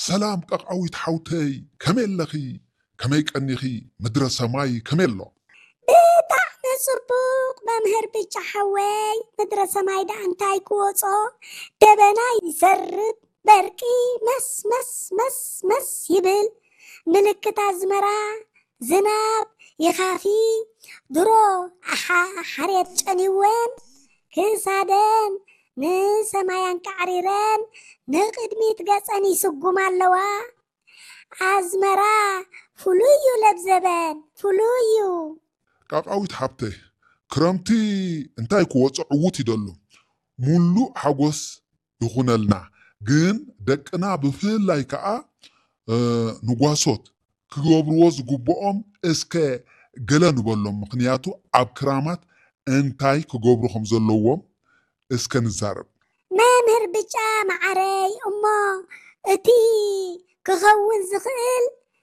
ሰላም ቃቃዊት ሓውተይ፣ ከመይ ኣለኺ? ከመይ ቀኒኺ? ምድረ ሰማይ ከመይ ኣሎ? ብጣዕሚ ጽቡቕ መምህር ብጫ ሓወይ፣ ምድረ ሰማይ ደኣ እንታይ ክወጾ፣ ደበና ይሰርብ፣ በርቂ መስ መስ መስ መስ ይብል፣ ምልክት ኣዝመራ ዝናብ ይኻፊ። ድሮ ኣሓ ሓርየት ጨኒወን ክሳደን ንሰማይ ኣንቃዕሪረን ንቕድሚት ገጸን ይስጉማ ኣለዋ። ኣዝመራ ፍሉይ እዩ ለብዘበን ፍሉይ እዩ። ቃቃዊት ሓብተይ፣ ክረምቲ እንታይ ክወጾ ዕዉት ይደሉ። ሙሉእ ሓጎስ ይኹነልና። ግን ደቅና ብፍላይ ከኣ ንጓሶት ክገብርዎ ዝግብኦም እስከ ገለ ንበሎም። ምኽንያቱ ኣብ ክራማት እንታይ ክገብሩ ከም ዘለዎም እስከ ንዛረብ። መምህር ብጫ መዓረይ፣ እሞ እቲ ክኸውን ዝኽእል